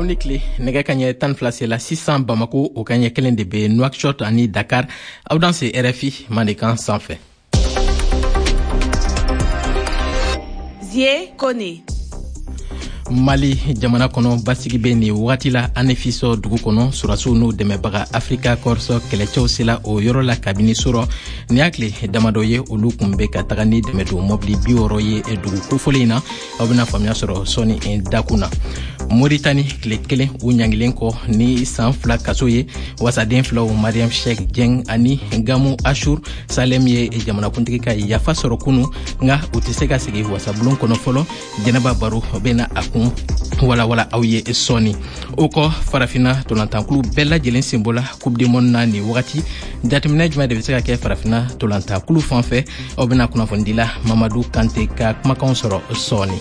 Aw ni tile. Nɛgɛ kaɲɛ 12 sela sisan Bamako, o kaɲɛ kelen de bɛ Nouakchott ani Dakar. Aw danse RFI Mandenkan sanfɛ. Zie Kone. Mali jamana kɔnɔ, basigi bɛ nin wagati la Anefis dugu kɔnɔ. Sɔrɔdasiw n'u dɛmɛbaga Africa Corps kɛlɛcɛw sela o yɔrɔ la kabini surɔ. Nin y'a tile damadɔ ye olu kun bɛ ka taga ni dɛmɛdon mɔbili 60 ye dugu kofɔlen in na. Aw bɛna faamuya sɔrɔ sɔɔni dakun na. Moritani, tile kelen u ɲangilen kɔ ni san 2 kaso ye, wasaden filaw Mariam Sheikh Jeng ani Gamu Ashur Salem ye jamanakuntigi ka yafa sɔrɔ kunu, nka u tɛ se ka sigi wasabulon kɔnɔ fɔlɔ. Jɛnɛba Baro bɛna a kun walawala aw ye sɔɔni. O kɔ, Farafina tolantankulu bɛɛ lajɛlen senbɔla Coupe du monde na nin wagati. Jateminɛ jumɛn de bɛ se ka kɛ Farafina tolantankulu fan fɛ? Aw bɛna kunnafonidila Mamadu Kante ka kumakanw sɔrɔ sɔɔni.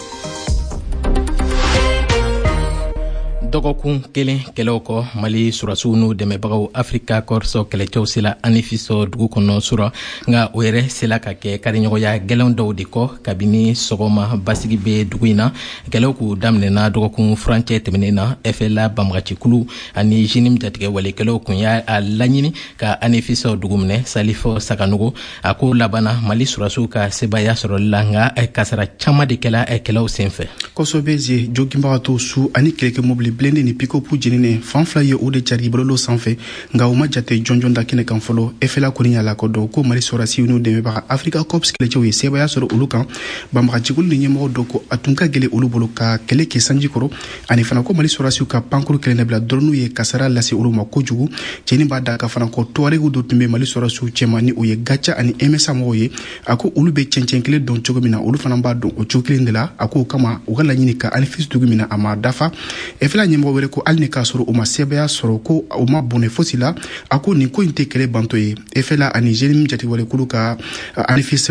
Dɔgɔkun kelen kɛlɛw kɔ, Mali sɔrɔdasiw n'u dɛmɛbagaw Africa Corps kɛlɛcɛw sela Anefis dugu kɔnɔ surɔ, nka o yɛrɛ sela ka kɛ kariɲɔgɔnya gɛlɛn dɔw de kɔ. Kabini sɔgɔma, basigi bɛ dugu in na. Kɛlɛw k'u daminɛna dɔgɔkun furancɛ tɛmɛnen na. FLA banbagacikulu ani JNIM jatigɛ walekɛlaw kun y'a laɲini ka Anefis dugu minɛ. Salif Sakanogo, a ko labanna Mali sɔrɔdasiw ka sebaaya sɔrɔli la, nka kasara caman de kɛla kɛlɛw senfɛ. Kosɛbɛ ze. Joginbagatɔ su ani kɛlɛkɛ mobili blindé ni pick-up jeninen fan fila ye, o de cari bɔlɔlɔ sanfɛ, nka u ma jate jɔnjɔn da kɛnɛ kan fɔlɔ. FLA kɔni y'a lakodɔn ko Mali sɔrɔdasiw n'u dɛmɛbaga Africa Corps kɛlɛcɛw ye sebaaya sɔrɔ olu kan. Banbagacikulu ni ɲɛmɔgɔ dɔ ko a tun ka gɛlɛn olu bolo ka kɛlɛ kɛ sanji kɔrɔ, ani fana ko Mali sɔrɔdasiw ka pankuru kɛlɛ bila dɔrɔnw ye kasara lase olu ma kojugu. Cɛnin b'a da ka fana ko Tuaregiw dɔ tun bɛ Mali sɔrɔdasiw cɛma, ni o ye Gatia ani MSA mɔgɔw ye. A ko olu bɛ cɛncɛn kelen dɔn cogo min na, olu fana b'a dɔn o cogo kelen de la. A ko o kama, u ka laɲini ka Anefis dugu minɛ, a ma dafa. FLA ɲɛmɔgɔ wɛrɛ ko hali ni k'a sɔrɔ u ma sebaaya sɔrɔ, ko u ma bɔnɛ fosi la. A ko nin ko in tɛ kɛlɛ bantɔ ye. FLA ani JNIM jatigɛwalekulu ka Anefis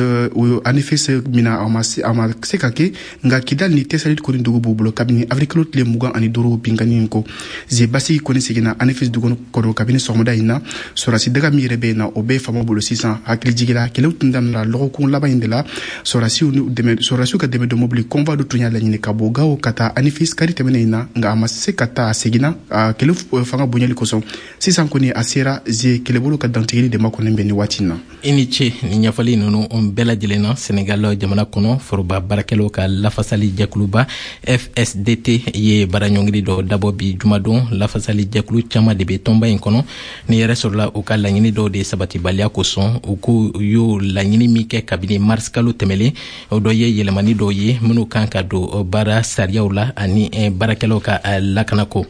minɛ, a ma se ka kɛ, nka Kidal ni Tessalit kɔni dugu b'u bolo kabini avril kalo tile 25 binkanni in ko ze. Basigi kɔni seginna Anefis dugu kɔnɔ kabini sɔgɔmada in na. Sɔrɔdasi daga min yɛrɛ bɛ yen na, o bɛ faamaw bolo sisan. Hakili jigila, kɛlɛw tun daminɛra lɔgɔkun laban in de la. Sɔrɔdasiw ka dɛmɛ don mobili convoi dɔ tun y'a laɲini ka bɔ Gawo ka taa Anefis kari tɛmɛnen in na, nka a ma se ka taa, a seginna kɛlɛ fanga bonyali kosɔn. Sisan kɔni a sera ze, kɛlɛbolo ka dantigɛli de makɔnɔ bɛ nin waati in na. I ni ce ni ɲɛfɔli ninnu bɛɛ lajɛlen na. Senegal jamana kɔnɔ, foroba baarakɛlaw ka lafasali jɛkuluba FSDT ye baaraɲɔngiri dɔ dabɔ bi jumadon. Lafasali jɛkulu caman de bɛ tɔnba in kɔnɔ. Ni yɛrɛ sɔrɔla u ka laɲini dɔw de sabatibaliya kosɔn. U ko u y'o laɲini min kɛ kabini mars kalo tɛmɛlen, o dɔ ye yɛlɛmani dɔw ye minnu kan ka don baara sariyaw la ani baarakɛlaw ka lakanako.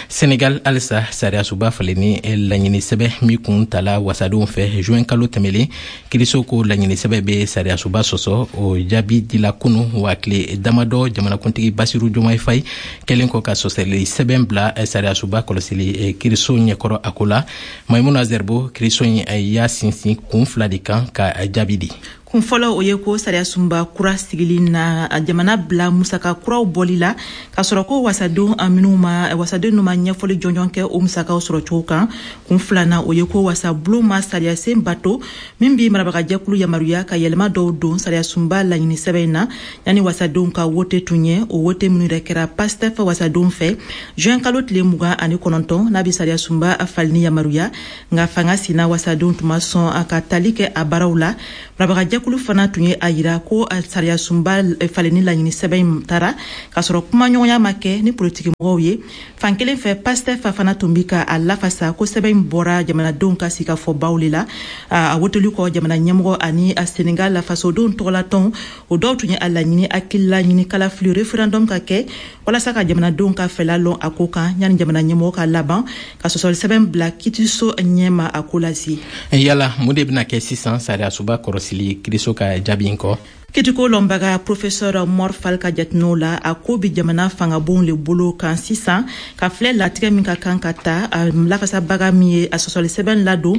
Senegal halisa, sariyasuba falenni laɲini sɛbɛ min kun tala wasadenw fɛ juin kalo tɛmɛlen, kiriso ko laɲini sɛbɛ bɛ sariyasuba sɔsɔ. O jaabi dila kunu wa tile damadɔ jamanakuntigi Basiru Jomayi Fayi kɛlen kɔ ka sɔsɔli sɛbɛn bila sariyasuba kɔlɔsili kiriso ɲɛkɔrɔ a ko la. Maimuna Zerbo, kiriso in y'a sinsin kun fila de kan ka jaabi di. Kun fɔlɔ, o ye ko sariyasunba kura sigili na jamana bila musaka kuraw bɔli la, k'a sɔrɔ ko wasadenw minnu ma wasaden ma ɲɛfɔli jɔnjɔn kɛ o musakaw sɔrɔ cogo kan. Kun filanan, o ye ko wasabulon ma sariyasen bato min bi marabagajɛkulu yamaruya ka yɛlɛma dɔw don sariyasunba laɲini sɛbɛn in na yanni wasadenw ka wote tun ye. O wote minnu yɛrɛ kɛra Pastef wasadenw fɛ juin kalo tile 29, n'a bi sariyasunba falenni yamaruya, nka fanga sina wasadenw tun ma sɔn ka tali kɛ a baaraw la. Marabagajɛkulu fana tun ye a yira ko sariyasunba falenni laɲini sɛbɛn in taara k'a sɔrɔ kumaɲɔgɔnya ma kɛ ni politikimɔgɔw ye. Fankelen fɛ, Pastef fana tun bi ka a lafasa ko sɛbɛn in bɔra jamanadenw ka sigikafɔbaw le la. A woteli kɔ, jamana ɲɛmɔgɔ ani a Senegal fasodenw tɔgɔlatɔnw, o dɔw tun ye a laɲini hakilila ɲini kalafili référendum ka kɛ walasa ka jamanadenw ka fɛla lɔn a ko kan, yanni jamana ɲɛmɔgɔ ka laban ka sɔsɔli sɛbɛn bila kitiso ɲɛma a ko lase. Yala mun de bɛna kɛ sisan sariyasuba kɔrɔsili kiriso ka jaabi in kɔ? Kitiko lɔnbaga professeur Mor Fall ka jateminɛw la, a ko bi jamana fangabonw le bolo kan sisan ka filɛ latigɛ min ka kan ka ta. Lafasabaga min ye a sɔsɔli sɛbɛn ladon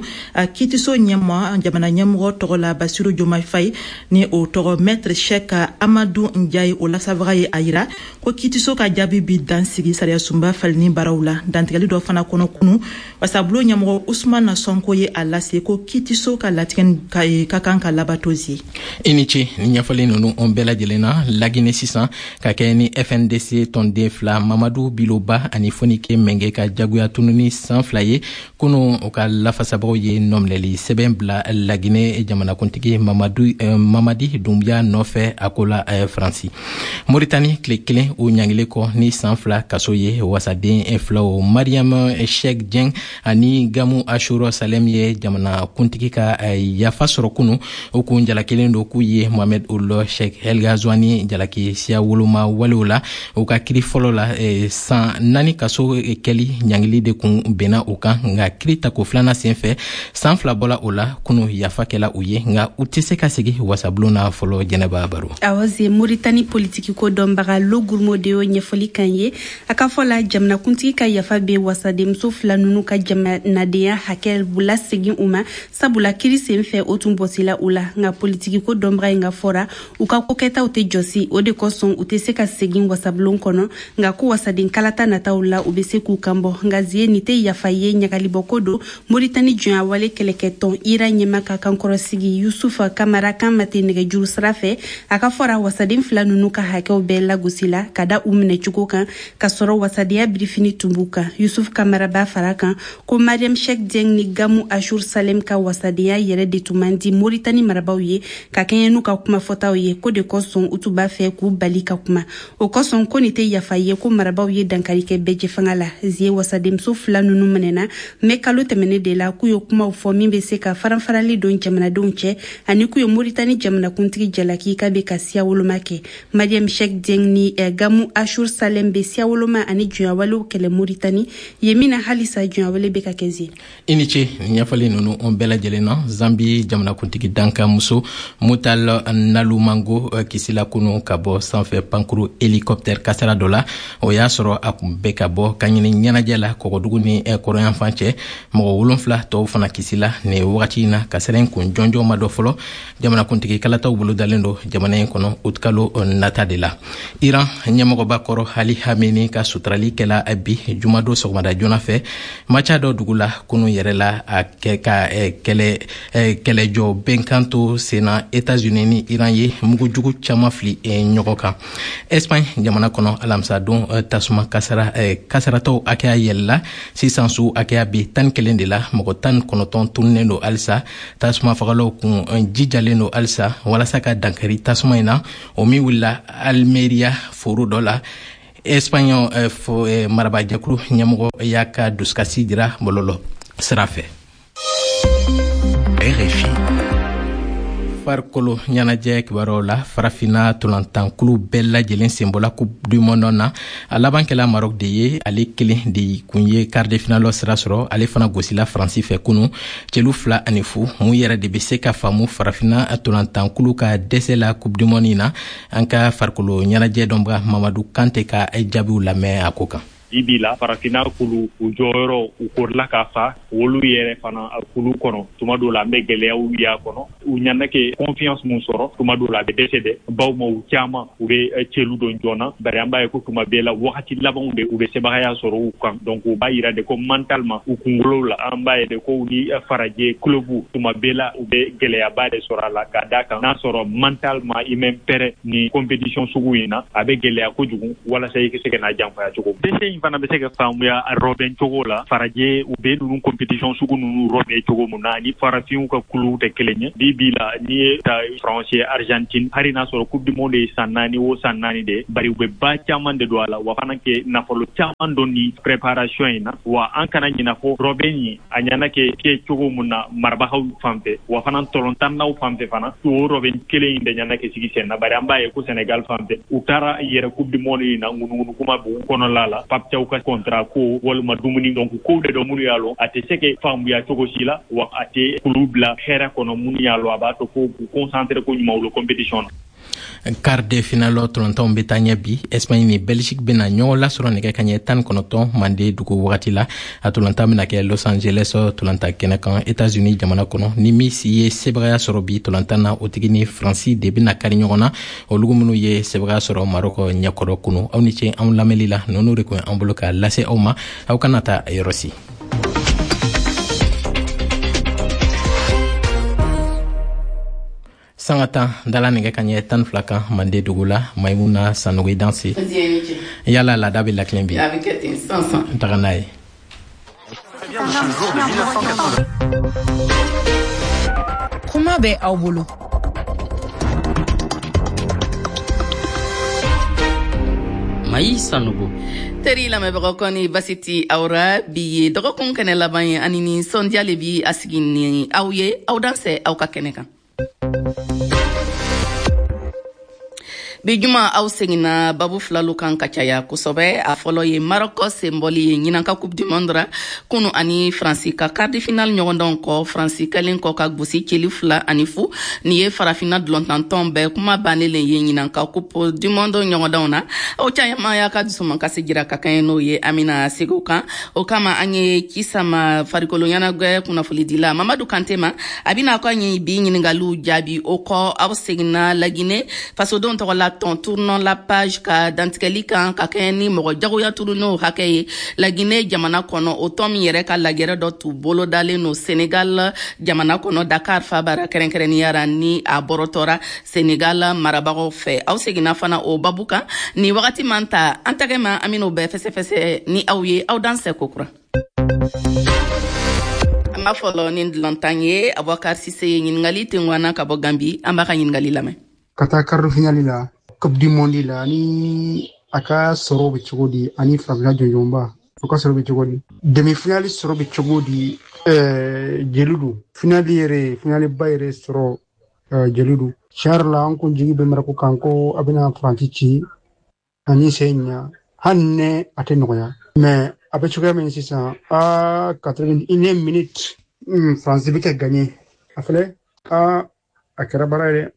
kitiso ɲɛma jamana ɲɛmɔgɔ tɔgɔ la, Basiru Jomayi Fayi, ni o tɔgɔ maître Cheikh Amadu Njayi, o lasabaga ye a yira ko kitiso ka jaabi bi dan sigi sariyasunba falenni baaraw la. Dantigɛli dɔ fana kɔnɔ kunu, wasabulon ɲɛmɔgɔ Usumana Sɔnko ye a lase ko kitiso ka latigɛ ka kan ka labato zi. I ni ce ni. Ɲɛfɔli ninnu bɛɛ lajɛlen na, Lagine sisan, ka kɛ ni FNDC tɔnden fila, Mamadu Biloba ani Fonike Mɛnge, ka jagoya tununi san 2 ye, kunu u ka lafasabagaw ye nɔminɛli sɛbɛn bila Lagine jamanakuntigi Mamadu Mamadi Dumbuya nɔfɛ a ko la Faransi. Moritani, tile kelen o ɲangili kɔ ni san 2 kaso ye, wasaden filaw Mariam Sheikh Jeng ani Gamu Ashuro Salem ye jamanakuntigi ka yafa sɔrɔ kunu. O kun jalakilen don k'u ye Mohamed Ould Cheikh El Ghazouani jalaki siya woloma walew la. U ka kiri fɔlɔ la, san 4 kaso kɛli ɲangili de kun benna u kan, nka kiri tako filanan sen fɛ, san 2 bɔla o la. Kunu yafa kɛla u ye, nka u tɛ se ka segi wasabulon na fɔlɔ. Jɛnɛba Baro. Awɔ ze, Moritani politiki ko dɔnbaga Lo Gurmo de y'o ɲɛfɔli kan ye. A ka fɔ la, jamanakuntigi ka yafa bɛ wasadenmuso fila ninnu ka jamanadenya hakɛ lasegin u ma, sabula kiri sen fɛ o tun bɔsila u la. Nka politiki ko dɔnbaga in ka fɔra, u ka kokɛtaw tɛ jɔsi, o de kosɔn u tɛ se ka segin wasabulon kɔnɔ, nka ko wasaden kalata nataw la, u bɛ se k'u kan bɔ. Nka zie, nin tɛ yafa ye, ɲagalibɔko don. Moritani jɔnyawale kɛlɛkɛtɔn IRA ɲɛma ka kankɔrɔsigi Yusufa Kamara kan ma tɛ nɛgɛjuru sira fɛ. A ka fɔra, wasaden fila ninnu ka hakɛw bɛɛ lagosi la ka da u minɛcogo kan, ka sɔrɔ wasadenya birifini tun b'u kan. Yusuf Kamara b'a fara kan ko Mariam Sheikh Dieng ni Gamu Ashur Salem ka wasadenya yɛrɛ de tun man di Moritani marabaw ye, ka kɛɲɛ n'u ka kumafɔtaw ye, ko de kosɔn u tun b'a fɛ k'u bali ka kuma. O kosɔn ko nin tɛ yafa ye, ko marabaw ye dankari kɛ bɛɛjɛfanga la. Zie, wasadenmuso fila ninnu minɛna mɛ kalo tɛmɛnen de la, k'u ye kumaw fɔ min bɛ se ka faranfarali don jamanadenw cɛ, ani k'u ye Moritani jamanakuntigi jalaki k'a bɛ ka siya woloma kɛ. Mariam Sheikh Dieng ni Gamu Ashur Salem bɛ siya woloma ani jɔnyawalew kɛlɛ Moritani yen min na halisa jɔnyawale bɛ ka kɛ zie. I ni ce ɲɛfɔli ninnu bɛɛ lajɛlen na. Zambi jamanakuntigi dankanmuso Mutal Nalumango kisila kunu ka bɔ sanfɛ pankuru hélicoptère kasara dɔ la. O y'a sɔrɔ a kun bɛ ka bɔ ka ɲini ɲɛnajɛ la kɔgɔdugu ni kɔrɔyanfan cɛ. Mɔgɔ 7 tɔw fana kisila. Nin wagati in na, kasara in kun jɔnjɔn ma dɔ fɔlɔ. Jamanakuntigi kalataw bolodalen don jamana in kɔnɔ utikalo nata de la. Iran ɲɛmɔgɔba kɔrɔ Ali Hameni ka suturali kɛla bi jumadon sɔgɔmada joona fɛ Maca dɔ dugu la. Kunu yɛrɛ la, a kɛ ka kɛlɛ kɛlɛjɔ bɛnkan to senna, États-Unis ni Iran ye mugujugu caman fili ɲɔgɔn kan. Espagne jamana kɔnɔ, alamisadon tasuma kasara kasaratɔw hakɛya yɛlɛla. Sisan su hakɛya bɛ 11 de la. Mɔgɔ 19 tununnen don halisa. Tasuma fagalaw kun jijalen don halisa walasa ka dankari tasuma in na, o min wulila Almeria foro dɔ la. Espagne marabajɛkulu ɲɛmɔgɔ y'a ka dusukasi jira bɔlɔlɔ sira fɛ. RFI. Farikolo ɲɛnajɛ kibaruyaw la, Farafinna tolantankulu bɛɛ lajɛlen senbɔla Coupe du monde na. A laban kɛla Maroc de ye, ale kelen de kun ye quart de finale sira sɔrɔ. Ale fana gosila Faransi fɛ kunu celu 2-0. Mun yɛrɛ de bɛ se ka faamu Farafinna tolantankulu ka dɛsɛ la Coupe du monde na? An ka farikolo ɲɛnajɛ dɔnbaga Mamadu Kante ka jaabiw lamɛn a ko kan. Bi la, Farafinna kulu, u jɔyɔrɔ u korila ka fa olu yɛrɛ fana kulu kɔnɔ. Tuma dɔw la, an bɛ gɛlɛyaw y'a kɔnɔ. U ɲana kɛ confiance mun sɔrɔ, tuma dɔw la a bɛ dɛsɛ dɛ, bawo ma u caman u bɛ cɛlu don joona, bari an b'a ye ko tuma bɛɛ la, wagati labanw de u bɛ sebagaya sɔrɔ u kan. Donc u b'a yira de ko mentalement, u kunkolo la, an b'a ye de ko ni farajɛ club, tuma bɛɛ la u bɛ gɛlɛyaba de sɔrɔ a la, ka d'a kan n'a sɔrɔ mentalement i mɛn prêt ni compétition sugu in na, a bɛ gɛlɛya kojugu walasa i ka se ka n'a janfaya cogo. Dɛsɛ in fana bɛ se ka faamuya rɔbɛn cogo la. Farajɛ, u bɛ ninnu compétition sugu ninnu rɔbɛn cogo mun na, ani farafinw ka kuluw tɛ kelen ye. Bi bi la, n'i ye ta France, Argentine, hali n'a sɔrɔ Coupe du monde ye san 4 o san 4 de, bari u bɛ ba caman de don a la, wa fana kɛ nafolo caman don ni préparation in na. Wa an kana ɲina fɔ rɔbɛn in a ɲana kɛ kɛ cogo mun na marabagaw fan fɛ, wa fana tɔlɔntannaw fan fɛ fana, o rɔbɛn kelen in de ɲana kɛ sigi sen na, bari an b'a ye ko Sénégal fan fɛ, u taara yɛrɛ Coupe du monde in na, ŋunuŋunu kuma b'u kɔnɔla la, Pape Thiaw ka contrat ko walima dumuni. Donc kow de dɔ minnu y'a lɔn a tɛ se ka faamuya cogo si la, wa a tɛ kulu bila hɛrɛ kɔnɔ minnu y'a lɔn a b'a to ko k'u concentré ko ɲuman olu compétition na. Quart de finale tɔlɔntanw bɛ taa ɲɛ bi. Espagne ni Belgique bɛna ɲɔgɔn lasɔrɔ nɛgɛ kaɲɛ 19 mande dugu wagati la. A tɔlɔntan bɛna kɛ Los Angeles tɔlɔntan kɛnɛ kan, États-Unis jamana kɔnɔ. Ni min ye sebagaya sɔrɔ bi tɔlɔntan na, o tigi ni Faransi de bɛna kari ɲɔgɔn na, olu minnu ye sebagaya sɔrɔ Maroc ɲɛkɔrɔ kunu. Aw ni ce anw lamɛnli la. Ninnu de kun ye an bolo ka lase aw ma. Aw kana taa yɔrɔ si. Sanga 10 dala nɛgɛ ka ɲɛ 12 kan Mande dugu la. Maimuna Sanogo, i danse. Yala laada bɛ lakilen bi? A bɛ kɛ ten sisan sisan. N taga n'a ye. Kuma bɛ aw bolo. Mayi Sanogo. Teri lamɛnbagaw, kɔni basi ti aw ra? Bi ye dɔgɔkun kɛnɛ laban ye, ani nisɔndiya le bi a sigi ni aw ye. Aw dansɛ aw ka kɛnɛ kan. Bi juma, aw seginna babu filalu kan ka caya kosɛbɛ. A fɔlɔ ye Marɔkɔ senbɔli ye ɲinan ka Coupe du monde ra kunu ani Faransi ka quart de finale ɲɔgɔndɔn kɔ. Faransi kɛlen kɔ ka gosi celi 2-0. Nin ye Farafinna dulɔntantɔn bɛɛ kuma bannen le ye ɲinan ka Coupe du monde ɲɔgɔndɔnw na. O caman y'a ka dusumankasi jira ka kɛɲɛ n'o ye. An bɛna segin o kan. O kama, an ye ci sama farikolo ɲɛnajɛ kunnafonidila Mamadu Kante ma. A bɛna ka ɲi bi ɲiningaliw jaabi. O kɔ, aw seginna Laginɛ fasodenw tɔgɔ la tɔn Tournons la page ka dantigɛli kan ka kɛɲɛ ni mɔgɔ jagoya turunenw hakɛ ye Laginɛ jamana kɔnɔ. O tɔn min yɛrɛ ka lajɛrɛ dɔ tun bolodalen no Senegal jamana kɔnɔ, Dakar fabara kɛrɛnkɛrɛnnenya ra, ni a bɔrɔtɔra Senegal marabagaw fɛ. Aw seginna fana o babu kan. Ni wagati man ta an tɛgɛ ma, an ben'o bɛɛ fɛsɛfɛsɛ ni aw ye. Aw dansɛ kokura. An b'a fɔlɔ ni dulɔntan ye. Abubakar Sise ye ɲiningali tenguana ka bɔ Gambi. An b'a ka ɲiningali lamɛn. Ka taa quart de finale la Coupe du monde la, ani a ka sɔrɔ bɛ cogo di? Ani Farafinna jɔnjɔnba, o ka sɔrɔ bɛ cogo di? Demi finale sɔrɔ bɛ cogo di? Jeli don finale yɛrɛ, finale ba yɛrɛ sɔrɔ jeli don. Tiɲɛ yɛrɛ la, an kun jigi bɛ Marako kan ko a bɛna Faransi ci ani sen ɲa, hali ne a tɛ nɔgɔya, mais a bɛ cogoya min sisan, a 81 minute, Faransi bɛ ka gagner a filɛ, a a kɛra baara ye dɛ.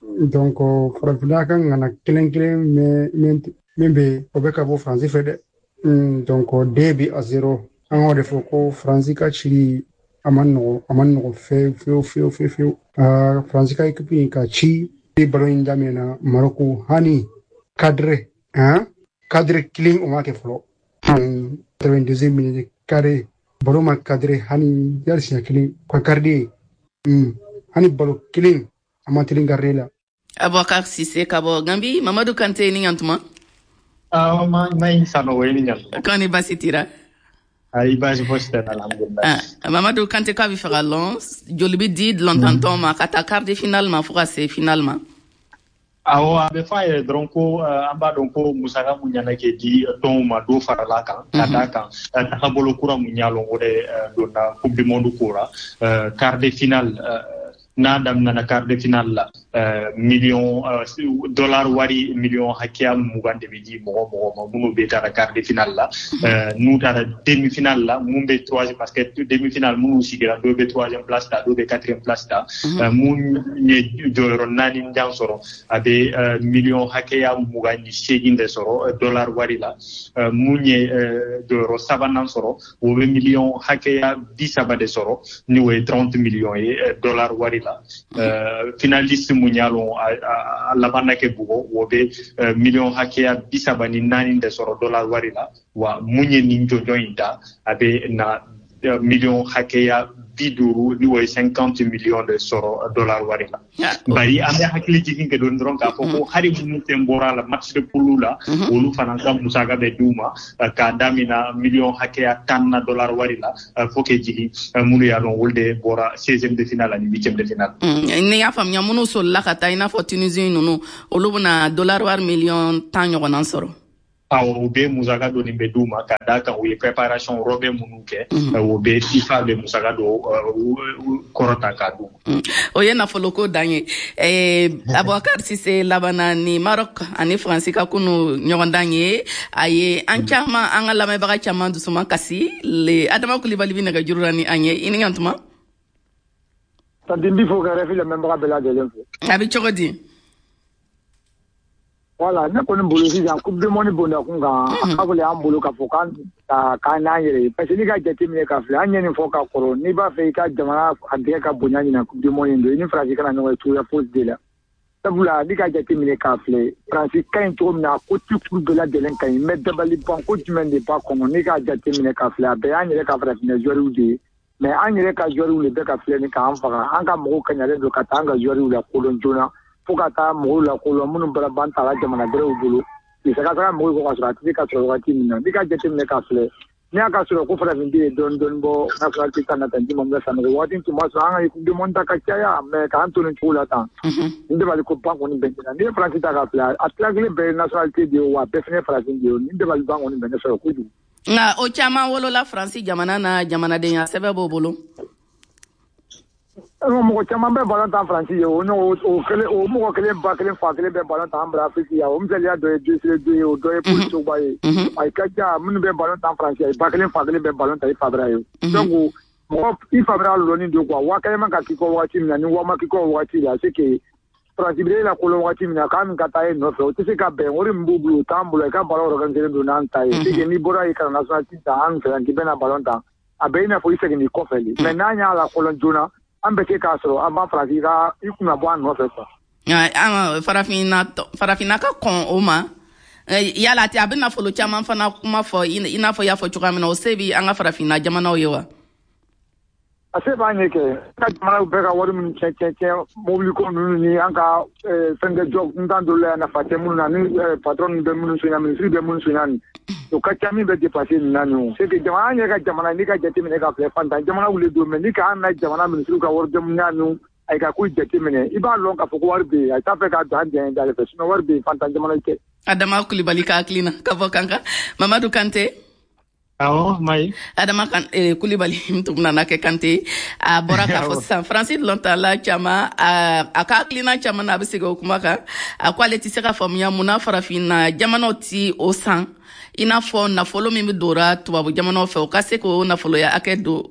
Donc Farafinna ka ŋana kelen kelen min bɛ, o bɛ ka bɔ Faransi fɛ dɛ. Donc 2 buts à 0, an k'o de fɔ ko Faransi ka cili a ma nɔgɔ, a ma nɔgɔ fewu fewu fewu fewu fewu. Faransi ka équipe in ka ci ballon in daminɛna Maroko, hani cadre hein, cadre kelen o ma kɛ fɔlɔ. 82e minute, carré ballon ma cadré hani yali siɲɛ kelen ka garder, hani ballon kelen a ma teli garder la. Abubakar Sise ka bɔ Gambi. Mamadu Kante, ni ɲantuma. Mayi Sanogo, i ni ɲantuma. Kɔni basi tira? Ayi, baasi fosi tɛ, alhamdulilah. Mamadu Kante, k'a bɛ fɛ ka lɔn joli bɛ di dulɔntantɔn ma ka taa quart de finale ma fo ka se finale ma? Awɔ, a bɛ fɔ a yɛrɛ dɔrɔn ko an b'a dɔn ko musaka mun ɲana kɛ di tɔnw ma, dɔ farala kan ka d'a kan tagabolo kura mun y'a lɔn, o de donna Coupe du monde ko ra. Quart de finale n'a daminɛna, quart de finale la, miliyɔn dollar wari miliyɔn hakɛya 20 de bɛ di mɔgɔ mɔgɔ ma minnu bɛ taara quart de finale la. N'u taara demi finale la, mun bɛ troisième, parce que demi finale minnu sigira, dɔw bɛ troisième place ta, dɔw bɛ quatrième place ta, mun ye jɔyɔrɔ naani jan sɔrɔ, a bɛ miliyɔn hakɛya 28 de sɔrɔ dollar wari la. Mun ye jɔyɔrɔ sabanan sɔrɔ, o bɛ miliyɔn hakɛya 30 de sɔrɔ, ni o ye 30 miliyɔn ye dollar wari la. Finaliste mun y'a lɔn a laban na kɛ bugɔ, o bɛ miliyɔn hakɛya 34 de sɔrɔ dollar wari la. Wa mun ye nin jɔnjɔn in ta, a bɛ na miliyɔn hakɛya 50, ni o ye 50 miliyɔn de sɔrɔ dollar wari la. Bari an bɛ hakili jigin kɛ don dɔrɔn k'a fɔ ko hali minnu fɛn bɔra a la match de poule la, olu fana ka musaka bɛ d'u ma k'a damina miliyɔn hakɛya 10 na dollar wari la fo k'e jigin minnu y'a dɔn olu de bɔra 16e de finale ani 8e de finale. Ni y'a faamuya, minnu solila ka taa, i n'a fɔ Tunisie ninnu, olu bɛna dollar wari miliyɔn 10 ɲɔgɔnna sɔrɔ. Awɔ, u bɛ musaka dɔ nin bɛ d'u ma ka d'a kan u ye préparation rɔbɛ minnu kɛ, o bɛ FIFA bɛ musaka dɔ kɔrɔta k'a d'u ma. O ye nafoloko dan ye. Abubakar Sise labanna ni Maroc ani Faransi ka kunu ɲɔgɔndan ye. A ye an caman, an ka lamɛnbaga caman dusuma kasi le. Adama Kulibali bɛ nɛgɛjuru la ni an ye. I ni ɲantuma. Tanti, n b'i fo ka RFI lamɛnbaga bɛɛ lajɛlen fo. A bɛ cogo di? Voilà, ne kɔni bolo sisan, Coupe du monde bonda kun kan, a ka gɛlɛn an bolo k'a fɔ k'an n'an yɛrɛ ye, parce que n'i ka jateminɛ ka filɛ, an ye nin fɔ ka kɔrɔ, n'i b'a fɛ i ka jamana a dɛgɛ ka bonya ɲina Coupe du monde in don, i ni Faransi kana ɲɔgɔn ye cogoya fosi de la. Sabula n'i ka jateminɛ k'a filɛ, Faransi ka ɲi cogo min na, a ko ti kuru bɛɛ lajɛlen ka ɲi, mais dabali ban ko jumɛn de b'a kɔnɔ? N'i k'a jateminɛ k'a filɛ, a bɛɛ y'an yɛrɛ ka farafinna joueurs de ye. Mais an yɛrɛ ka joueurs de bɛ ka filɛ ni k'an faga. An ka mɔgɔw kaɲalen don ka taa an ka joueurs la kodɔn joona, fo ka taa mɔgɔw la kodɔn minnu bɔra ban ta la jamana wɛrɛw bolo. I ka taga mɔgɔw kɔ ka sɔrɔ a tɛ se ka sɔrɔ wagati min na. N'i ka jateminɛ ka filɛ, n'i y'a ka sɔrɔ ko farafin den ye dɔɔni dɔɔni bɔ nationalité ta na tan, juma bɛ Sanogo waati tun b'a sɔrɔ an ka Coupe du monde ta ka caya, mais k'an to nin cogo la tan, nin dabali ko ban kɔni bɛ ne na. N'i ye Faransi ta ka filɛ, a tila kelen bɛɛ ye nationalité de ye, wa bɛɛ fana ye farafin de ye. Nin dabali ban kɔni bɛ ne sɔrɔ kojugu. Nka o caman wolola Faransi jamana na, jamanadenya sɛbɛn b'o bolo. Mɔgɔ caman bɛ ballon tan Faransi ye, o kelen, o mɔgɔ kelen ba kelen fa kelen bɛ ballon tan an bara Afrique yan. O misaliya dɔ ye Désiré Doué ye, o dɔ ye Paul Pogba ye. A ka ca minnu bɛ ballon tan Faransi ye, ba kelen fa kelen bɛ ballon tan i fa bɛra ye. Donc mɔgɔ i fa bɛra lɔnni don quoi, waa kelen man ka k'i kɔ wagati min na ni waa ma k'i kɔ wagati la, c'est que Faransi bɛ e la kolon wagati min na k'a min ka taa e nɔfɛ, o tɛ se ka bɛn. Wari min b'u bolo, o t'an bolo. I ka ballon organiser don n'an ta ye, c'est que n'i bɔra yen ka na nationalité ta an fɛ yan k'i bɛna ballon tan, a bɛ i n'a fɔ i seginn'i kɔfɛ de. Mais n'an y'a la kolon joona, an bɛ se k'a sɔrɔ an b'a Faransi ka i kunna bɔ an nɔfɛ quoi. Farafinna ka kɔn o ma. Yala a bɛ nafolo caman fana kuma fɔ, i n'a fɔ i y'a fɔ cogoya min na, o se bi an ka farafinna jamanaw ye wa? A se b'an ye kɛ. An ka jamanaw bɛɛ ka wari minnu tiɲɛ mobili ko ninnu ni an ka fɛnkɛ jɔ ntan dɔw la yan, nafa tɛ minnu na, ni patron ninnu bɛ minnu sonya, minisiri bɛ minnu sonya nin, o ka ca min bɛ dépasser nin na nin. O c'est que jamana, an yɛrɛ ka jamana, n'i ka jateminɛ ka filɛ, fantan jamana wuli don, mais n'i ka an na jamana minisiriw ka wari jamuya ninnu, a ka ko jateminɛ, i b'a lɔn k'a fɔ ko wari bɛ yen. A t'a fɛ k'a don an jɛn da fɛ, sinon wari bɛ yen, fantan jamana tɛ. Adama Kulibali ka hakilina ka bɔ Kankan. Mamadu Kante. Awɔ, Mayi. Adama kan, Kulibali tun nana kɛ Kante. A bɔra k'a fɔ sisan Faransi lɔntala caman, a ka hakilina caman na, a bɛ segin o kuma kan. A ko ale tɛ se ka faamuya munna farafinna jamanaw ti o san, i n'a fɔ nafolo min bɛ dora tubabu jamanaw fɛ, o ka se k'o nafoloya hakɛ don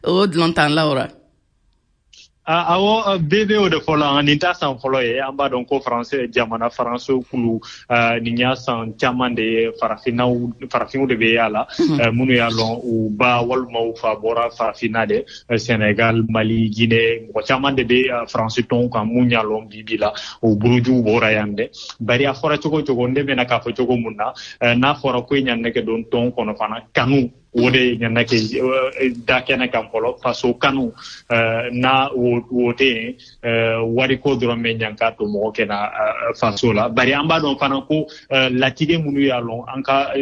o dɔlɔntanlaw ra. Awɔ, bɛɛ bɛ o de fɔ la. Nin t'a san fɔlɔ ye. An b'a dɔn ko Faransi jamana, Faransi kulu, nin y'a san caman de ye, farafinnaw, farafinw de bɛ y'a la, minnu y'a lɔn u ba walima u fa bɔra farafinna de, Sénégal, Mali, Guinée, mɔgɔ caman de bɛ Faransi tɔnw kan mun y'a lɔn bi bi la o burujuw bɔra yan dɛ. Bari a fɔra cogo o cogo, ne bɛna k'a fɔ cogo mun na, n'a fɔra ko i ɲa nɛgɛ don tɔn kɔnɔ fana, kanu o de ɲana kɛ da kɛnɛ kan fɔlɔ, faso kanu. N'a o tɛ yen, wariko dɔrɔn bɛ ɲan k'a to mɔgɔ kɛna faso la. Bari an b'a dɔn fana ko latigɛ minnu y'a lɔn an ka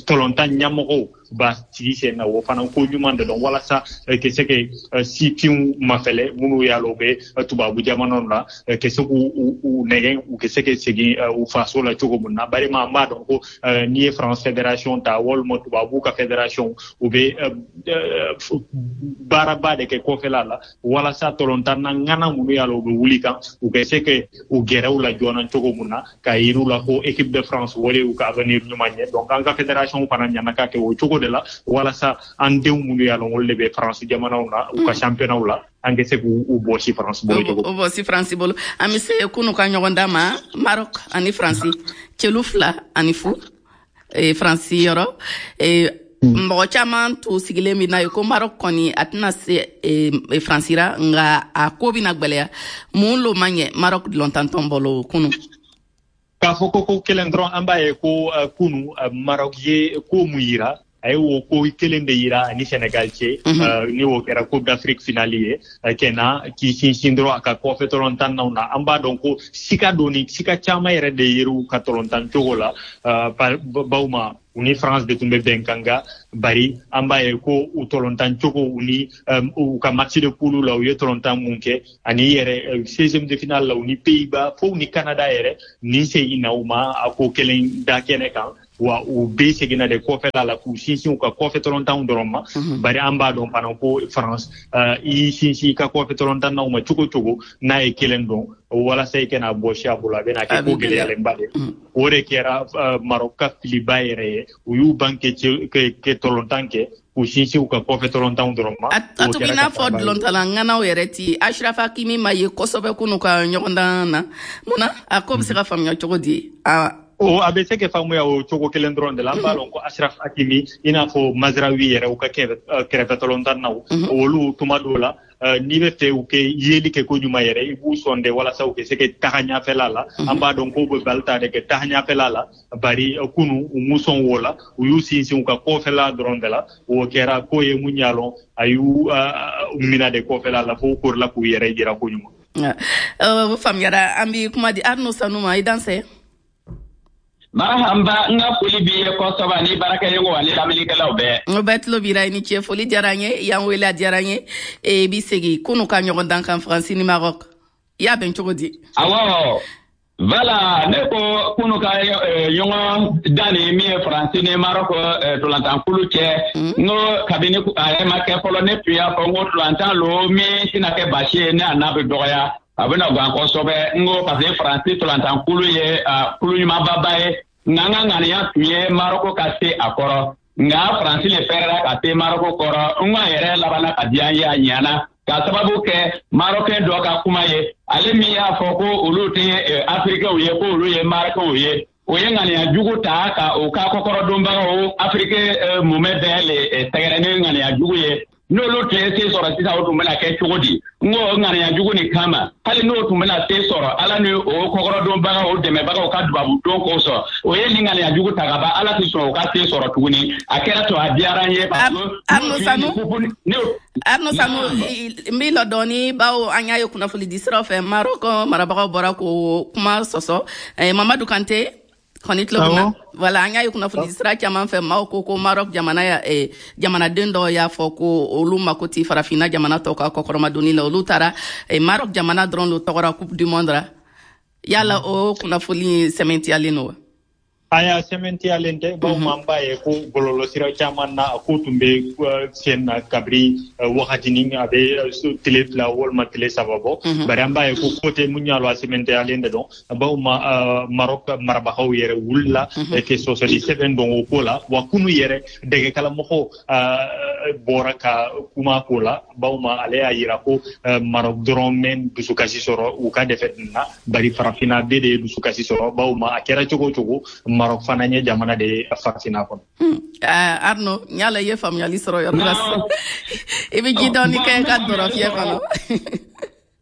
tɔlɔntan ɲɛmɔgɔw ba sigi sen na, o fana ko ɲuman de dɔn walasa ka se ka sifinw mafɛlɛ minnu y'a lɔn u bɛ tubabu jamanaw la, ka se k'u nɛgɛn u ka se ka segin u faso la cogo min na. Bari an b'a dɔn ko n'i ye France fédération ta walima tubabu ka fédération, u bɛ baaraba de kɛ kɔfɛla la walasa tɔlɔntan na ŋana minnu y'a lɔn u bɛ wuli kan, u ka se ka u gɛrɛ u la joona cogo min na, k'a yir'u la ko équipe de France o de y'u ka avenir ɲuman ye. Donc an ka fédération fana ɲana ka kɛ o cogo de la walasa an denw minnu y'a lɔn olu de bɛ France jamanaw na, u ka championnat la, an ka se k'u bɔsi France bolo cogo. O bɔsi France bolo. An bɛ se kunu ka ɲɔgɔn dan ma, Maroc ani France, celu 2-0 Faransi yɔrɔ. Mɔgɔ caman tun sigilen bɛ n'a ye ko Maroc kɔni a tɛna se Faransi ra, nka a ko bɛna gwɛlɛya. Mun lo ma ɲɛ Maroc dɔlɔntantɔn bolo kunu? K'a fɔ ko kelen dɔrɔn, an b'a ye ko kunu Maroc ye ko mun yira, a ye o ko kelen de yira ani Sénégal cɛ, ni o kɛra Coupe d'Afrique finale ye, kɛna k'i sinsin dɔrɔn a ka kɔfɛ tɔlɔntannaw na. An b'a dɔn ko sika doni, sika caman yɛrɛ de yer'u ka tɔlɔntan cogo la, baw ma u ni France de tun bɛ bɛnkan kan. Bari an b'a ye ko u tɔlɔntan cogo, u ni u ka match de poule la, u ye tɔlɔntan mun kɛ, ani yɛrɛ 16e de finale la, u ni Pays-Bas fo u ni Canada yɛrɛ, nin segin na u ma a ko kelen da kɛnɛ kan wa, u bɛɛ seginna de kɔfɛla la k'u sinsin u ka kɔfɛ tɔlɔntanw dɔrɔn ma. Bari an b'a dɔn fana ko France, i sinsin i ka kɔfɛ tɔlɔntannaw ma cogo cogo, n'a ye kelen dɔn walasa i kana bɔsi a bolo, a bɛna kɛ ko gɛlɛyalenba de. O de kɛra Maroc ka filiba yɛrɛ ye. U y'u ban kɛ tɔlɔntan kɛ k'u sinsin u ka kɔfɛ tɔlɔntanw dɔrɔn ma. A tun b'i n'a fɔ dɔlɔntala ŋanaw yɛrɛ ti Ashraf Hakimi ma ye kosɛbɛ kunu ka ɲɔgɔndan na. Mun na? A ko bɛ se ka faamuya cogo di? O a bɛ se ka faamuya o cogo kelen dɔrɔn de la. An b'a lɔn ko Ashraf Hakimi, i n'a fɔ Mazraoui yɛrɛ, u ka kɛrɛfɛ tɔlɔntannaw, olu tuma dɔw la n'i bɛ fɛ u kɛ yeli kɛ ko ɲuman yɛrɛ, i b'u sɔn de walasa u kɛ se ka taga ɲɛfɛla la. An b'a dɔn k'u bɛ bali ta de kɛ taga ɲɛfɛla la, bari kunu u m'u sɔn o la, u y'u sinsin u ka kɔfɛla dɔrɔn de la. O kɛra ko ye mun y'a lɔn, a y'u mina de kɔfɛla la fo u korila k'u yɛrɛ jira ko ɲuman. O faamuyara. An bi kuma di Arnaud Sanu ma. I dansɛ. Marahaba, n ka foli b'i ye kosɛbɛ ni baarakɛɲɔgɔnw ani lamɛnnikɛlaw bɛɛ. O bɛɛ tulo b'i la. I ni ce, foli diyara n ye, y'an wele, a diyara n ye. E bi segin kunu ka ɲɔgɔn dan kan, Faransi ni Maroc, i y'a bɛn cogo di? Awɔ, voilà, ne ko kunu ka ɲɔgɔn dan ni min ye Faransi ni Maroc ntolantankulu cɛ, n ko kabini a yɛrɛ ma kɛ fɔlɔ, ne tun y'a fɔ n ko ntolantan lo min tɛna kɛ baasi ye, ne a n'a bɛ dɔgɔya, a bɛna gan kosɛbɛ. N ko parce que Faransi ntolantankulu ye kulu ɲumanbaba ye, nka an ka ŋaniya tun ye Maroko ka se a kɔrɔ, nka Faransi le fɛrɛla ka se Maroko kɔrɔ. N ko a yɛrɛ labanna ka diya n ye, a ɲana ka sababu kɛ Marokɛn dɔ ka kuma ye, ale min y'a fɔ ko olu tɛ Afirikɛnw ye, ko olu ye Marokɛnw ye. O ye ŋaniya jugu ta ka o ka kɔkɔrɔdonbagaw Afiriki mumɛ bɛɛ le sɛgɛrɛ ni ŋaniya jugu ye. N'olu tun ye se sɔrɔ sisan, o tun bɛna kɛ cogo di? N ko o ŋaniya jugu nin kama, hali n'o tun bɛna se sɔrɔ, Ala ni o kɔkɔrɔdonbagaw, o dɛmɛbagaw ka dubabu don kosɔn, o ye nin ŋaniya jugu ta ka ban, Ala tɛ sɔn o ka se sɔrɔ tuguni. A kɛra to, a diyara n ye. Arnaud Sanu, Arnaud Sanu, n b'i lɔ dɔɔni, bawo an y'a ye kunnafoni di siraw fɛ, Maroc marabagaw bɔra k'o kuma sɔsɔ. Mamadu Kante kɔni tulo bɛ na. Voilà, an y'a ye kunnafoni sira caman fɛ, maaw ko ko Maroc jamana jamanaden dɔw y'a fɔ ko olu mako ti farafinna jamana tɔw ka kɔkɔrɔmadonni la, olu taara Maroc jamana dɔrɔn lo tɔgɔra Coupe du monde ra. Yala o kunnafoni sɛmɛntiyalen don wa? Aya, sɛmɛntiyalen tɛ, bawo an b'a ye ko bɔlɔlɔsira caman na, a ko tun bɛ sen na kabiri wagatinin, a bɛ tile 2 walima tile 3 bɔ, bari an b'a ye ko ko tɛ mun y'a lɔ, a sɛmɛntiyalen de dɔn, bawo Maroc marabagaw yɛrɛ wulila ke sɔsɔli sɛbɛn dɔn o ko la. Wa kunu yɛrɛ dɛgɛkalamɔgɔw bɔra ka kuma ko la, bawo ale y'a yira ko Maroc dɔrɔn mɛn dusukasi sɔrɔ u ka défaite na, bari farafinna bɛɛ de ye dusukasi sɔrɔ, bawo a kɛra cogo o cogo, Maroc fana ye jamana de ye farafinna kɔnɔ. Arnaud, n y'a la i ye faamuyali sɔrɔ yɔrɔ la sisan. I bɛ ji dɔɔni kɛ ka dɔrɔ fiyɛ kɔnɔ.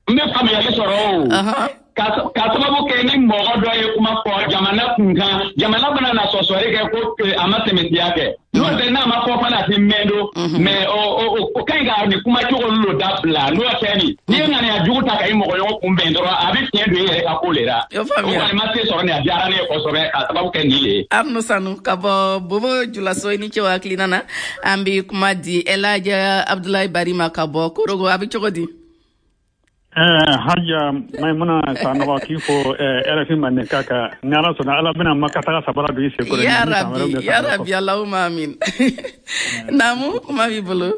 N bɛ faamuyali sɔrɔ o. Ka sababu kɛ ni mɔgɔ dɔ ye kuma fɔ jamana kun kan, jamana bɛna na sɔsɔli kɛ ko a ma sɛmɛntiya kɛ. N'o tɛ, n'a ma fɔ fana, a tɛ mɛn don. Mais o ka ɲi ka nin kuma cogo olu dabila. N'o tɛ nin, n'i ye ŋaniya jugu ta ka i mɔgɔɲɔgɔn kunbɛn dɔrɔn, a bɛ fiɲɛ don i yɛrɛ ka ko le la. O kɔni ma se sɔrɔ nin, a diyara ne ye kosɛbɛ ka sababu kɛ nin le ye. Arnaud Sanu ka bɔ Bobo Julaso, i ni ce o hakilina na. An bɛ kuma di Elhaji Abdoulaye Bari ma ka bɔ Korogo. A bɛ cogo di? Haja Maimuna Sanogo, k'i fo RFI Mandenka kan. Ni Ala sɔnna, Ala bɛna Maka taga sabara don i sen kɔrɔ. Ya Rabbi, ya Rabbi, Allahumma amin. Naamu, kuma b'i bolo.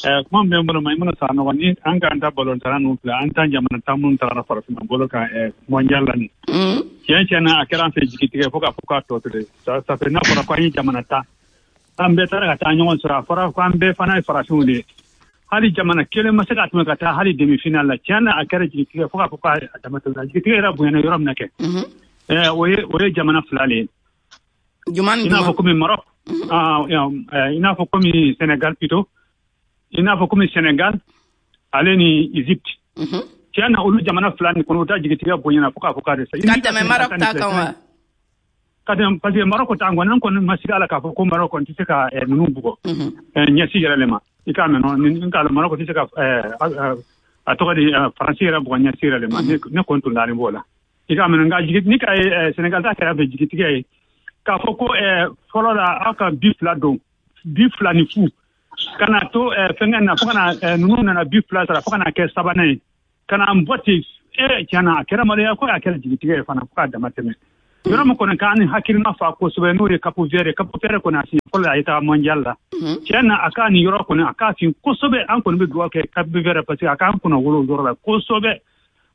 Kuma min bɛ n bolo, Maimuna Sanogo, ni an k'an ta balontanna ninnu filɛ, an ta jamana tan minnu tagara farafinna bolo kan mondial la nin. Tiɲɛ tiɲɛ na, a kɛra an fɛ jigitigɛ fo k'a fɔ k'a tɔ to dɛ. Ça fait n'a fɔra ko an ye jamana tan, an bɛɛ taara ka taa ɲɔgɔn sɔrɔ, a fɔra ko an bɛɛ fana ye farafinw de ye. Hali jamana kelen ma se ka tɛmɛ ka taa hali demi-finale la. Tiɲɛ na, a kɛra jigitigɛ fo k'a fɔ k'a dama tɛmɛna. Jigitigɛ yɛrɛ bonyana yɔrɔ min na kɛ, o ye jamana fila le ye. Jumɛn? I n'a fɔ komi Maroc, i n'a fɔ komi Sénégal plutôt, i n'a fɔ komi Sénégal ale ni Égypte. Tiɲɛ na, olu jamana fila nin kɔnɔ, u ta jigitigɛ bonyana fo k'a fɔ k'a dɛsɛ. Ka tɛmɛ Maroc ta kan wa? Ka tɛmɛ, parce que Maroc ta kɔni, an kɔni ma sigi a la k'a fɔ ko Maroc kɔni tɛ se ka ninnu bugɔ ɲɛsi yɛrɛ le ma. I k'a mɛn nɔ, n k'a lɔn Maroc tɛ se ka a tɔgɔ di Faransi yɛrɛ bugɔ ɲɛsi yɛrɛ le ma. Ne kɔni tun dalen b'o la. I k'a mɛn, nka jigi ni ka ye Sénégal ta kɛra fɛ jigitigɛ ye k'a fɔ ko fɔlɔ la aw ka bi 2 don, bi 2 ni fu, ka na to fɛnkɛ na fo ka na ninnu nana bi 2 sara fo ka na kɛ sabanan ye, ka na n bɔ ten. Tiɲɛ na, a kɛra maloya ko, a kɛra jigitigɛ ye fana fo k'a dama tɛmɛ. Yɔrɔ min kɔni k'an ni hakilina fa kosɛbɛ, n'o ye Cap Vert ye. Cap Vert kɔni, a siɲɛ fɔlɔ a ye taa mondial la. Tiɲɛ na, a k'a nin yɔrɔ kɔni, a k'a fin kosɛbɛ. An kɔni bɛ dugawu kɛ Cap Vert, parce que a k'an kunna wolo o yɔrɔ la kosɛbɛ.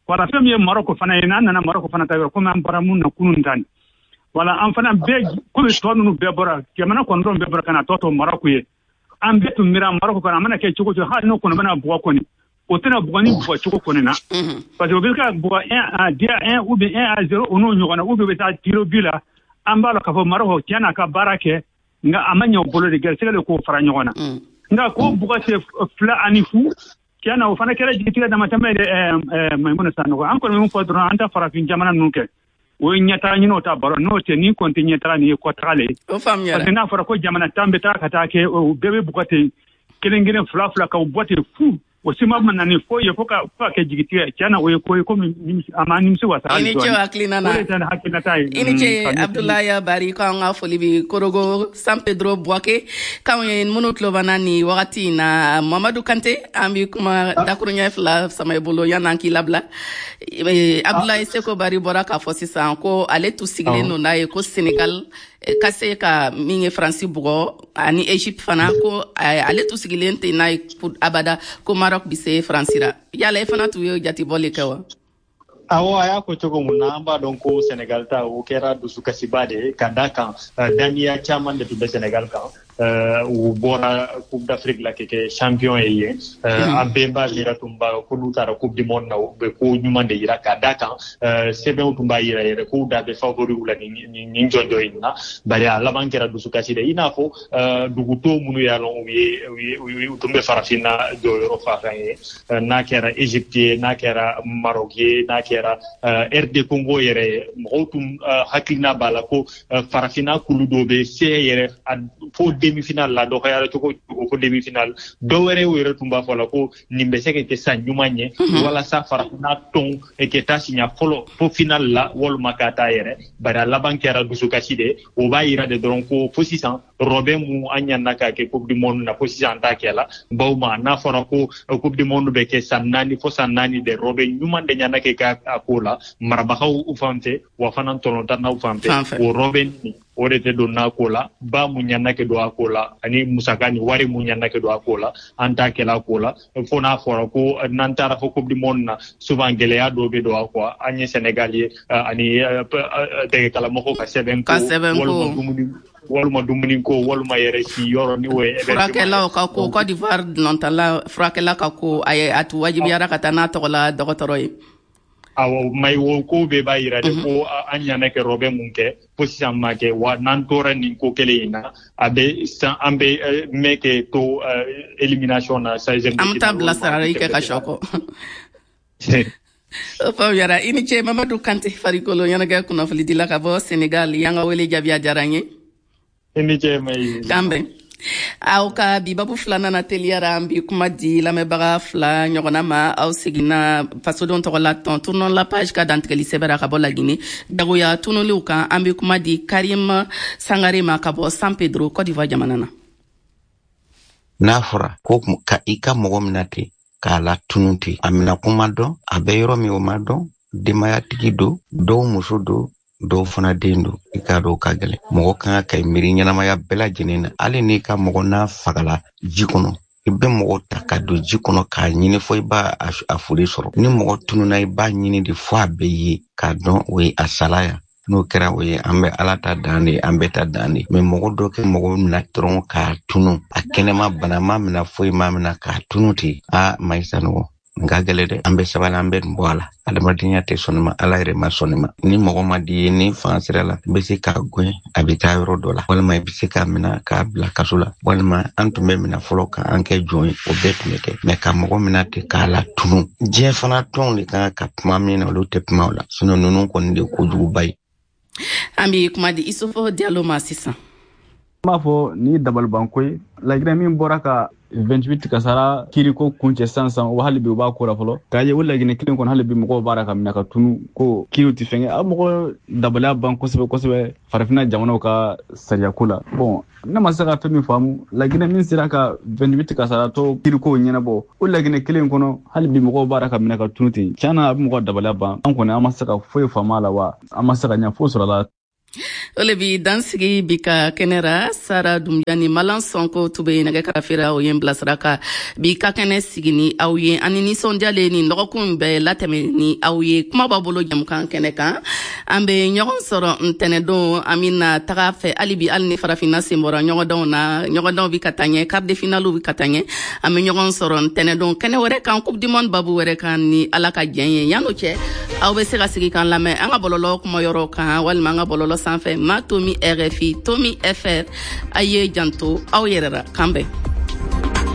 Wala fɛn min ye Maroc fana ye, n'an nana Maroc fana ta yɔrɔ, komi an bɔra mun na kunun ta nin. Wala an fana bɛɛ, komi tɔ ninnu bɛɛ bɔra, jamana 9 bɛɛ bɔra ka na tɔ to Maroc ye. An bɛɛ tun miira Maroc kɔnɔ, a mana kɛ cogo o cogo, hali n'o kɔni bɛna bugɔ kɔni, o tɛna bugɔ ni bugɔ cogo kɔni na. Parce que o bɛ ka bugɔ 1 à 2 à 1 ou bien 1 à 0, o n'o ɲɔgɔn na, ou bien u bɛ taa tir au but la. An b'a dɔn k'a fɔ Maroc tiɲɛ n'a ka baara kɛ, nka a ma ɲɛ u bolo de, gɛrɛsɛgɛ de k'o fara ɲɔgɔn na. Nka k'o bugɔ se 2-0, Tiɲɛ na, o fana kɛra jigitigɛ damatɛmɛ ye dɛ, Maimuna Sanogo. An kɔni bɛ min fɔ dɔrɔn, an ta farafin jamana ninnu kɛ, o ye ɲɛtaga ɲini, o ta baro n'o tɛ. Ni kɔni tɛ ɲɛtaga, nin ye kɔtaga le ye. O faamuyara. Parce que n'a fɔra ko jamana 10 bɛ taga ka taa kɛ, o bɛɛ bɛ bugɔ ten, kelen kelen, fila fila, k'aw bɔ ten fu, o si ma na ni foyi ye, fo ka kɛ jigitigɛ. Tiɲɛ na, o ye ko ye komi a ma nimisi wasa. I ni ce o hakilina na. O de tɛ hakilinata ye. I ni ce, Abdoulaye Bari. Ko an ka foli bi Korogo San Pedro Buwake k'anw ye minnu tulo banna nin wagati in na. Mamadu Kante, an bi kuma dakuruɲɛ 2 sama i bolo yan'an k'i labila. Abdoulaye Seko Bari bɔra k'a fɔ sisan ko ale tun sigilen don n'a ye ko Senegal ka se ka min ye Faransi bugɔ, ani Egypte fana, ko ale tun sigilen tɛ n'a ye abada ko Maroc bi se Faransi ra. Yala e fana tun ye jatibɔli kɛ wa? Awɔ, a y'a fɔ cogo mun na, an b'a dɔn ko Senegal ta, o kɛra dusukasiba de ye, ka da kan daniya caman de tun bɛ Senegal kan. U bɔra Coupe d'Afrique la ka kɛ champion ye yen. An bɛɛ b'a yira tun ba ko n'u taara Coupe du monde na, u bɛ ko ɲuman de yira, ka da kan sɛbɛnw tun b'a yira yɛrɛ k'u da bɛ favoriw la nin jɔnjɔn in na. Bari a laban kɛra dusukasi de, i n'a fɔ dugu tɔw minnu y'a lɔn u tun bɛ farafinna jɔyɔrɔ fa kan ye, n'a kɛra Égypte ye, n'a kɛra Maroc ye, n'a kɛra RD Congo yɛrɛ ye. Mɔgɔw tun hakilina b'a la ko farafinna kulu dɔw bɛ se yɛrɛ fo demi-finale la, dɔgɔyara cogo cogo fo demi-finale. Dɔw wɛrɛ yɛrɛ tun b'a fɔ la ko nin bɛ se ka kɛ san ɲuman ye walasa farafinna tɔn ka taa siɲɛ fɔlɔ fo finale la, walima ka taa yɛrɛ. Bari a laban kɛra dusukasi de. O b'a yira de dɔrɔn ko fo sisan, rɔbɛn mun an ɲana ka kɛ Coupe du monde na, fo sisan an t'a kɛ la. Bawo ma n'a fɔra ko Coupe du monde bɛ kɛ san 4 fo san 4 de, rɔbɛn ɲuman de ɲana kɛ a ko la marabagaw fan fɛ, wa fana tɔnɔtannaw fan fɛ. O rɔbɛn o de tɛ don n'a ko la. Ba mun ɲana kɛ don a ko la, ani musaka ni wari mun ɲana kɛ don a ko la, an t'a kɛla ko la. Fo n'a fɔra ko n'an taara fo Coupe du monde na, souvent gɛlɛya dɔw bɛ don a kɔ. An ye Sénégal ye, ani dɛgɛkalamɔgɔw ka sɛbɛn ko, walima dumuni ko, walima yɛrɛ si yɔrɔ ni o ye. Furakɛlaw ka ko, Côte d'Ivoire nɔntala furakɛla ka ko, a ye a tun wajibiyara ka taa n'a tɔgɔ la dɔgɔtɔrɔ ye. Awɔ, mayi, o ko bɛɛ b'a yira de ko an ɲana kɛ rɔbɛn mun kɛ, fo sisan ma kɛ. Wa n'an tora nin ko kelen in na, a bɛ san an bɛ mɛn kɛ to élimination na. 16e. An bɛ taa bilasirali kɛ ka sɔ kɔ. O faamuyara. I ni ce, Mamadu Kante, farikolo ɲɛnajɛ kunnafonidila ka bɔ Senegal. Y'an ka wele jaabi, a diyara n ye. I ni ce, Mayi. K'an bɛn. Aw ka bi babu filanan na, teliyara, an bi kuma di lamɛnbaga fila ɲɔgɔnna ma. Aw seginna fasodenw tɔgɔ la tɔn Tournons la page ka dantigɛli sɛbɛra ka bɔ Lagine, jagoya tunuliw kan. An bi kuma di Karim Sangare ma ka bɔ San Pedro, Côte d'Ivoire jamana na. N'a fɔra ko ka i ka mɔgɔ minɛ ten k'a la tunu ten, a minɛ kuma dɔn, a bɛ yɔrɔ min o ma dɔn, denbayatigi don, dɔw muso don, dɔw fana den don, i k'a dɔn ka gɛlɛn. Mɔgɔ kan ka miiri ɲɛnamaya bɛɛ lajɛlen na. Hali n'i ka mɔgɔ n'a fagala ji kɔnɔ, i bɛ mɔgɔ ta ka don ji kɔnɔ k'a ɲini fo i b'a a foli sɔrɔ. Ni mɔgɔ tununa, i b'a ɲini de fo a bɛ ye k'a dɔn o ye a sala yan. N'o kɛra, o ye an bɛ Ala ta dan de, an bɛɛ ta dan de. Mɛ mɔgɔ dɔ kɛ mɔgɔ minɛ dɔrɔn k'a tunu, a kɛnɛma bana ma minɛ, foyi ma minɛ, k'a tunu ten, a Mayi Sanogo, nka gɛlɛ dɛ. An bɛ sabali, an bɛ nin bɔ a la. Adamadenya tɛ sɔn ma, Ala yɛrɛ ma sɔn ma. Ni mɔgɔ ma di ye, ni fanga sira la, i bɛ se k'a gɛn a bɛ taa yɔrɔ dɔ la, walima i bɛ se k'a minɛ k'a bila kaso la, walima an tun bɛ minɛ fɔlɔ k'an kɛ jɔn ye, o bɛɛ tun bɛ kɛ. Mɛ ka mɔgɔ minɛ ten k'a la tunu, diɲɛ fana tɔnw de kan ka kuma min na, olu tɛ kuma o la. Sinon ninnu kɔni de ye kojuguba ye. An bɛ kuma di Issoufou Diallo ma sisan. N b'a fɔ nin ye dabalibanko ye. Laginɛ min bɔra ka 28 kasara kiriko kuncɛ sisan sisan, o hali bi u b'a ko la fɔlɔ, k'a ye o Laginɛ kelen kɔnɔ, hali bi mɔgɔw b'a la ka minɛ ka tunu ko kiriw tɛ fɛn kɛ. A mɔgɔ dabaliya ban kosɛbɛ kosɛbɛ farafinna jamanaw ka sariyako la. Bon, ne ma se ka fɛn min faamu, Laginɛ min sera ka 28 kasaratɔ kiriko ɲɛnabɔ, o Laginɛ kelen kɔnɔ, hali bi mɔgɔw b'a la ka minɛ ka tunu ten. Tiɲɛ na, a bɛ mɔgɔ dabaliya ban. An kɔni, an ma se ka foyi faamu a la, wa an ma se ka ɲɛ foyi sɔrɔ a la. O le bi dansigi bi ka kɛnɛ ra. Sara Dunbiya ni Malan Sɔnko tun bɛ nɛgɛ karafera, o ye n bilasira ka bi ka kɛnɛ sigi ni aw ye. Ani nisɔndiya le nin lɔgɔkun bɛɛ latɛmɛ ni aw ye kuma b'a bolo jamukan kɛnɛ kan. An bɛ ɲɔgɔn sɔrɔ ntɛnɛdon. An bɛna taga fɛ hali bi, hali ni farafinna sen bɔra ɲɔgɔndanw na, ɲɔgɔndanw bi ka taa ɲɛ, quart de finale bi ka taa ɲɛ. An bɛ ɲɔgɔn sɔrɔ ntɛnɛdon kɛnɛ wɛrɛ kan, Coupe du monde babu wɛrɛ kan, ni Ala ka jɛn ye. Yan'o cɛ, aw bɛ se ka sigi k'an lamɛn an ka bɔlɔlɔ kumayɔrɔ kan, walima an ka bɔlɔlɔ sanfɛ, ma tomi RFI tomi FR. A ye janto aw yɛrɛ la. K'an bɛn.